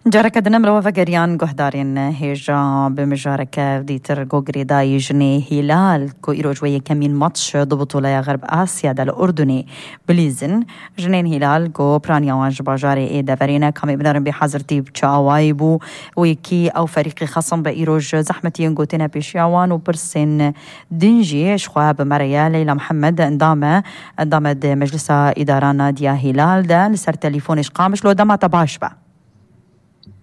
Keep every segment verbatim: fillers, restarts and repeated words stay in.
Careke din em li we vegeriyan guhdarên hêja bi mijareke dîtir ku girêdayî jinê Hîlal ku îroj wê yekemîn matç di bitoleya Xerb Asya de li Urdunê bilîzin. Jinên Hîlal ku piraniya wan ji bajarê ê deverê ne, kamê binerin bê hazirtî bi çi awayî bû û yekî ew ferîqê xesim bi îroj zehmetiyên ku têne pêşiya wan û pirsên din jî ji xwe bi me re ye. Leyla Mihemed endam e, endam e di Meclisa Îdara Nadiya Hîlal de li ser telîfonê ji Qamiş. Lo dema te baş be.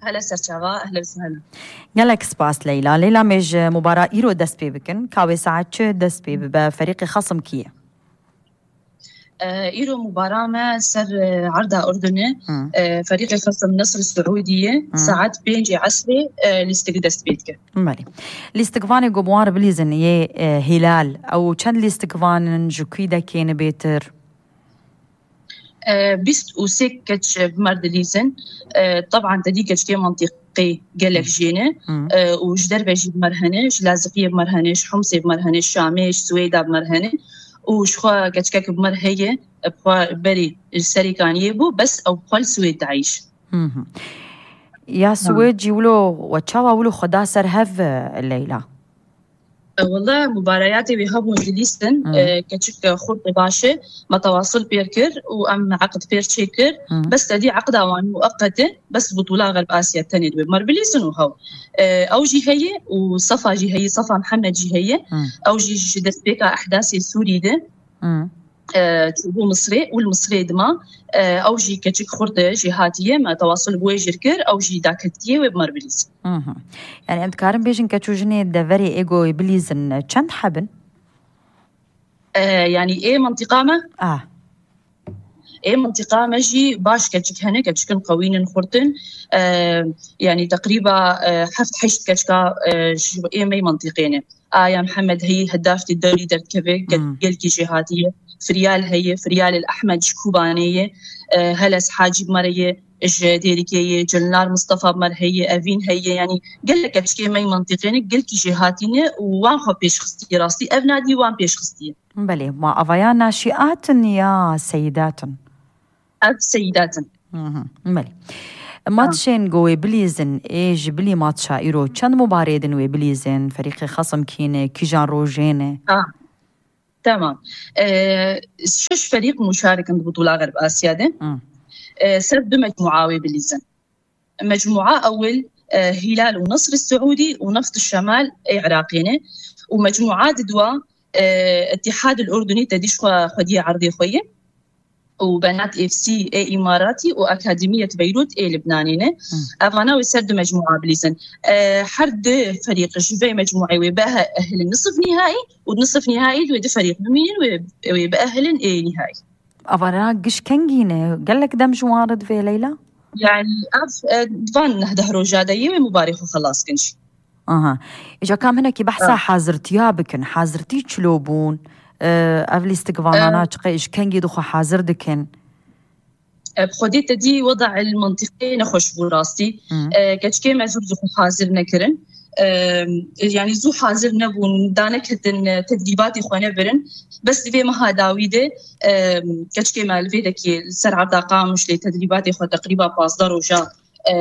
Hele serçava, ehle ve sehla. Gelek spas Leyla. Leyla, me ji mubara îro dest pê bikin. Ka wê saet çi dest pê bibe? Ferîqê xesim kî ye? E, îro mubara me ser, e, erda Urdunê, Hı. e, ferîqê xesim Nesr Siûdî ye. Hı. Saet pêncê esrê, e, lîstik dest pê dike. Belê. Lîstikvanê ku bi wan re bilîzin yê, e, Hîlal. Ew çend lîstikvan in, ji kû dekê ne bêtir? E, bîst û sê keç bi me re dilîzin. E, teban te dî keçikê mantîqî gelek Hı. jê ne. Hı. E, û ji derve jî bi me re hene, ji Laziqiyê bi me re hene, ji Humsê bi me re hene, ji Şamê, ji Swêda bi me re hene. Û ji xwe keçikek bi me re heye, bi xwe berî li Serîkaniyê bû, bes ew bi xwe li Swêd dieyş. Hı hı. Ya Ha. Swêd jî wilo, we çawa wilo xwe da ser hev, e, Leyla? E, wele mubareyatê wê hebûn dilîstin, Hı. e, keçik, e, xurt e baş e, me tewasil pêr kir û em eqd pêr çêkir. Hı. Bes te dî eqda wan mueqet e, bes butûla Xerb Asya tenê dibe. Mer bilîsin û hew. E, ew jî heye û Sefa jî heye, Sefa Mihemed jî heye. Hı. Ew jî ji destpêka ehdasê Sûrî de, Hı. e, çûbû Misrê û li Misrê dima, e, ew jî keçik xurt e, jêhatî ye, me tewasil bi wê jî kir, ew jî daketiye wê bi mer bilîzin. Hı hı. Yani em dikarin bêjin keç û jinê deverê ê ku bilîzin çend heb in? E, yani ê mintîqa me? Ah. Ê mintîqa me jî baş keçik hene, keçikin qewînin xurtin. E, yani teqrîba, e, heft heşt keçika, e, ji ê me mintîqê ne. Aya Mihemed heyî hedafî dewrî derdikeve, gel-, Hmm. gelkî jêhatî ye. Firyal heye, Firyal el Ehmed ji Kobanê ye. E, Heles Hacî bi me re ye, ji Dêrikê ye, Cilnar Mistefa bi me re heye, Evîn heye. Yanî gelek keçikê me yê mintîqê ne, gelkî jêhatî ne û wan xwe pêş xistiye rastî. Ev nadî wan pêş xistiye. Belê, ma avaya naşîat in ya seyidat in? Ev seyidat in. Hı hı, belê. Matçên ku wê bilîzin, ê ji bilî matça îro çend mubarê din wê bilîzin? Ferîqê xesim kî ne, kîjan rojê ne? Ha, tamam. E, şeş ferîq muşarik in di Butûla Xerb Asya de. Hı. E, ser du mecmûa wê bilîzin. Mecmûa ewil, e, Hîlal û Nesr Siûdî û Neft Şemal ê Iraqê ne. Û mecmûa di dua, e, Îtîhad el Urdunî te dî ji xwe xwediyê erdê xwe ye. Û Benat F C ê Îmaratî û Akademiyet Beyrût ê Libnanê ne. Hmm. Evana wê ser du mecmûa bilîzin. E, her du ferîq ji vê mecmûê wê biehilin nisf nîhaî û nisf nîhaî wê du ferîq bimînin wê, wê biehilin ê nîhaî. Evana giş kengî ne? Gelek dem ji wan re divê Leyla? Yani ev, e, van neh deh roja de yê wê mubarê xwe xelas kin jî. Aha. Îca kam hinekî behsa Ha. hazirtiya bikin. Hazirtî çilo bûn? E, ev lîstikvanana Ha. çiqe ji kengî dixwe hazir dikin? E, bi xwedê te dî weda el mintîqê nexweş bû rastî. Hı. E, keçikê me zû zû xwe hazir nekirin. E, yani zû hazir nebûn, daneketin, e, tedrîbatê xwe nebirin. Bes di vê meha dawî de, e, keçikê me li vê dekê li ser erda Qamiş lê tedrîbatê xwe teqrîba pazdeh roja, e,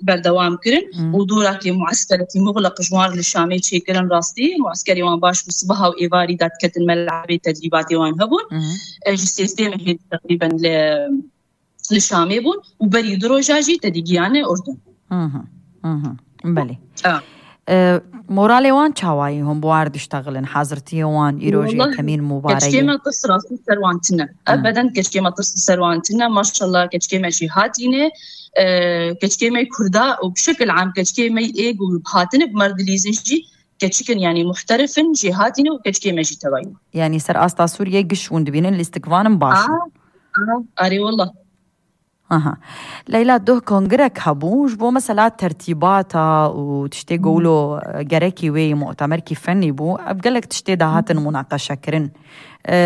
berdewam kirin Hmm. û dorakê mueskeretî muxleq ji wan li Şamê çêkirin rastî. Mueskerê wan baş bû, sibeha û êvarî dadiketin melebê tedrîbatê wan hebûn. Hmm. E, ji sêzdeh mehê teqrîben li, li Şamê bûn û berî du roja jî te dî giyane Urdun. Hı hı, hı hı. Belê. Ha. E, moralê wan çawayî hûn bi war diştexilin, hazirtiyê wan, îro ji Wallah, yekemîn mubareyê? Keçikê me tirs rastî ser wan tune. Hı. Ebeden keçikê me tirs ser wan tune. Maşallah keçikê me jî hatîne. E, keçikê me Kurda û bi şekil am keçikê me ê ku hatine bi mer dilîzin jî keçikin, yani muhterif in, jêhatî ne û keçikê me jî tevayî ne. Yani ser asta Sûriyê giş hûn dibînin, lîstikvan in baş in. Aha, aha, arê wallah. Aha. Leyla, doh kongirek hebû, ji bo mesela tertîbata û tiştê ku wilo, e, gerekî wê yî mutemerkî fennî bû, ev gelek tiştê dahatin munaqeşekirin. E,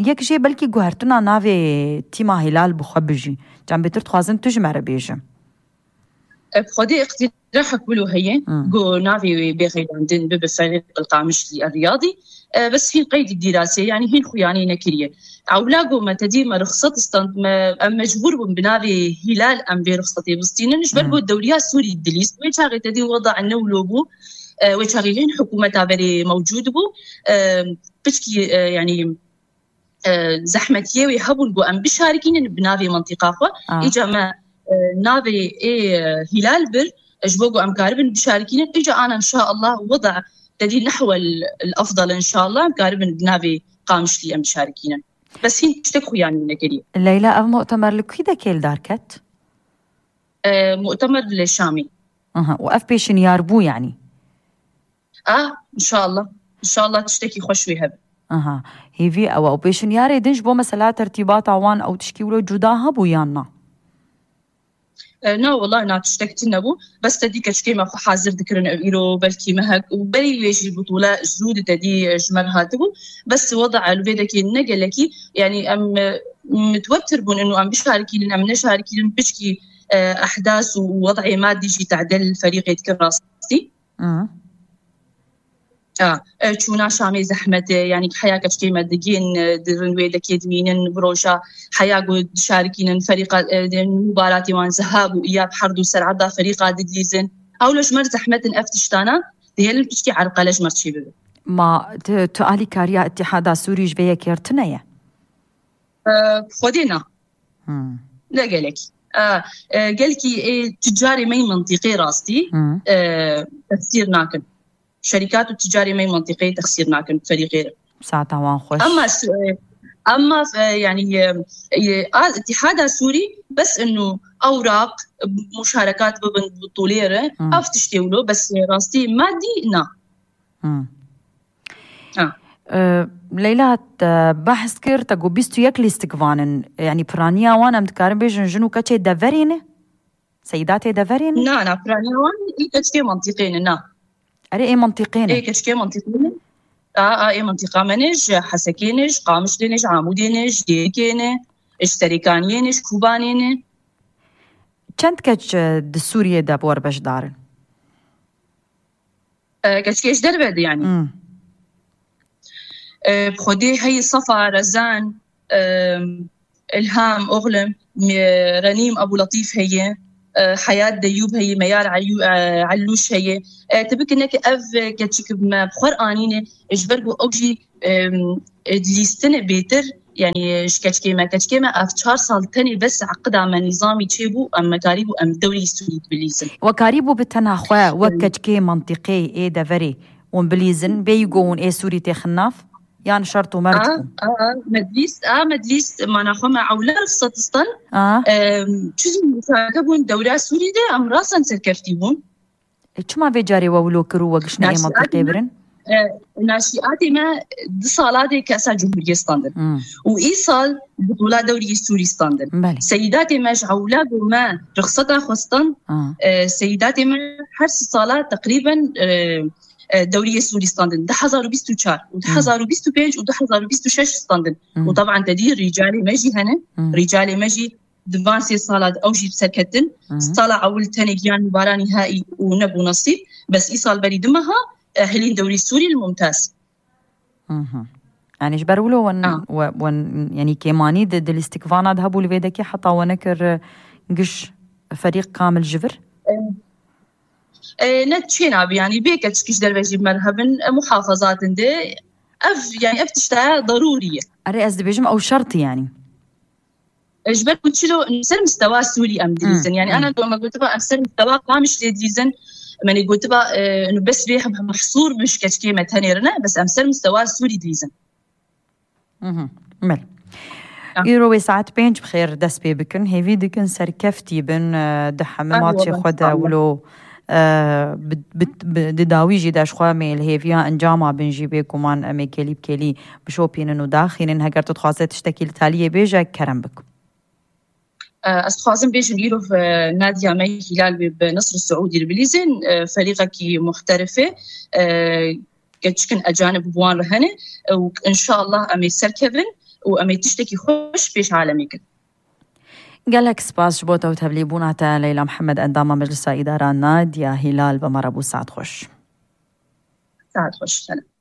yek jê belkî guhertina navê tîma Hîlal bi xwe bijî. Can bêtir dixwazin tu ji me re bêjin. Bi Xwedê îqtîrahek wilo heye, Hmm. ku navê wê bê xeylandin bibe Ferîq El Qamişlî El Riyadî. E, bes hîn qeydî dîrasê, yanî hîn xuyanî nekiriye. Ewla ku me tedî me ruxsat stand, me, em mecbûr bûn bi navê Hîlal em vê ruxsatê bistînin. Ji ber Hmm. ku dewriya Sûrî dilîst. Wê çaxê tedî weda ne wilo bû. E, wê çaxê hîn hikûmeta berê mewcûd bû. E, piçkî, e, yanî, e, zehmetiyê wê hebûn ku em bişarikînin bi navê mentiqa xwe. Ah. Îca me, e, navê ê, e, Hîlal bir, e, ji bo ku em karibin bişarikînin. Îca ana inşallah weda tedî nehwel el afdal inşallah em karibin bi navê Qamişlî em bişarikînin. Bes hîn tiştek xuyanî nekiriye. Leyla, ev mu'temer li kî de kêl derket? E, mu'temer li Şamî. Aha, û ev pêşinyar bû yanî? Ah, inşallah. İnşallah tiştekî xweş wê hebe. Aha. Hêvî ew e. Û pêşinyarê din ji bo mesela tertîbata wan ew tişkî wilo cuda hebû yan na? E, na, wela na tiştek tune bû. Bes te dî keçikê me xwe hazir dikirin ew îro belkî mehek û berî wê jî butûle zû di te dî, e, ji me re hatibû. Bes weda elbêdekê ne gelekî, yanî em, e, mitwebtir bûn û em bişarikînin, em neşarikînin, piçkî, e, ehdas û wed'ê madî jî tedel ferîqê dikin rastî. Hı. A, e, çûna Şamê zehmet e, yanî heya keçikê me digên, e, dirin wê dekê dimînin, bi roja heya ku dişarikînin ferîqa, e, de, mubaratê wan zehab û îyab her du ser erda ferîqa didlîzin. Ewlo ji me re zehmet in ev tiştana, dihêlin piçkî erqele ji me re çê bibe. Ma tu, tu alîkariya Îtîhada Sûrî ji vê yekê re tune ye? E, Xwedê na. Hmm. Ne gelek. E, e, gelkî ê ticarê me yî mintîqê rastî, Hmm. e, texsîr nakin. Şerîkat û ticarê me yî mintîqê texsîr nakin ferîqê re. Saeta wan xweş. Ama s-, e, ama, e, yanî, e, e, a, Îtîhada Sûrî bes inu ewraq, muşarekat bibin bi tolê re, Hmm. ev tiştê wilo, bes rastî madî na. Hmm. Ha. E, Leyla, te behs kir, te got bîst û yek lîstikvan in. Yanî piraniya wan em dikarin bêjin jin û keçê deverê ne? Seydatê deverê ne? Na, na, piraniya wan ê keçikê mentiqê ne, na. Erê, ê mentiqê ne. Ê keçikê mentiqê ne. A, a, ê mentiqa me ne, ji Hesekê ne, ji Qamişlê ne, ji Amûdê ne, ji Dêrikê ne, ji Serêkaniyê ne, ji Kobanê ne. Çend keç, e, di Sûriyê de bi we re beşdar in? E, keçikê ji derve de yanî. Hmm. E, bi Xwedê heye Safa, Rezan, e, Ilham, Oxlim, e, Renîm, Ebû Letîf heye, e, Heyat Deyûb heye, Meyar Eyû-, e, Ellûş heye. E, tu bikine ki ev keçik me bi xwe re anîne, ji ber ku ew jî, e, e, dilîstine bêtir, yanî ji keçikê me, keçikê me ev çar sal tenê bes eqida me nîzamî çêbû, em me karîbû em dewrî Sûrî bilîzin. We karîbû bi tena xwe wek Em. keçikê mentiqê ê deverê hûn bilîzin, bêyî ku hûn ê Sûrî têxin nav? Yan şert û mert A, bû? A, a, me dilîst, a, me dilîst, mana xwe me ewle rixsat stan. A. Em, çi zû muşareke bûn dewra Sûrî de, em rasan serkeftî bûn. E, çima vê carê we wilo kir û we giştine ê Naşî mentiqê Adem birin? E, naşîatê me di sala de kesa Cumhuriyê standin. Hmm. Û îsal butûla dewrî Sûrî standin. Belê. Seyidatê me ji ewla ku me rixseta xwe stan, Ah. e, seyidatê me her sî sala teqrîben, e, e, dewrî Sûrî standin. Du hezar û bîst û çar û Hmm. du hezar û bîst û pênc û du hezar û bîst û şeş standin. Hmm. Û taban te dî rîcalê me jî hene. Hmm. Rîcalê me jî di van sê sala de ew jî bi ser ketin. Hı hı. Sala ewil tenê giyan û bara nîhaî û nebû nesîb. Bes îsal berî du meha, e, hilîn dewrî Sûrî li Mumtaz. Hı hı. Yanî ji ber wilo wen, Ha. we, wen, yanî kêmanî di, di lîstikvana de hebû li vê dekê heta we nekir, e, giş ferîq kamil ji vir? E, e, ne çê nabî, yanî bê keçik ji derve jî me re hebin, e, muhafazat in de. Ev, yanî ev tişta darûrî ye. Erê, ez dibêjim ew şert e yanî. Ji ber ku çilo em ser mistewa Sûrî em dilîzin. Hmm, Yani hmm. Ana doma gotiba em ser mistewa Qamişlê dilîzin. Em ê gotiba, e, inu bes vê hem mehsûr bin ji keçikê me tenê re ne, bes em ser mistewa Sûrî dilîzin. Mhm, belê. Ah. Îro wê saet pênc bi xêr dest pê bikin. Hêvî dikin serkeftî bin, e, di heme Ah, matçê wallah, xwe de inşallah. Wilo, e, bi, bi, bi, di dawî jî de ji xwe em ê li hêviya encama bin jî bêguman em ê kêlî bi kêlî bişopînin û daxînin. Heger tu dixwaze tiştekî li taliyê bêje, kerem bik. E, ez dixwazim bêjim, îro, e, Nadia me Hîlal wê bi Nasr Seûdî re bilîzin, e, ferîqekî muhterif e, e, keçikin ecanib bi wan re hene, e, û inşallah em ê serkevin û em ê tiştekî xweş pêş alemê kin. Gelek spas ji bo te û tevlîbûna te, Leyla Mihemed, endama Meclisa Îdara Nadia Hîlal, bi me re bû. Saet xweş. Saet xweş, selam.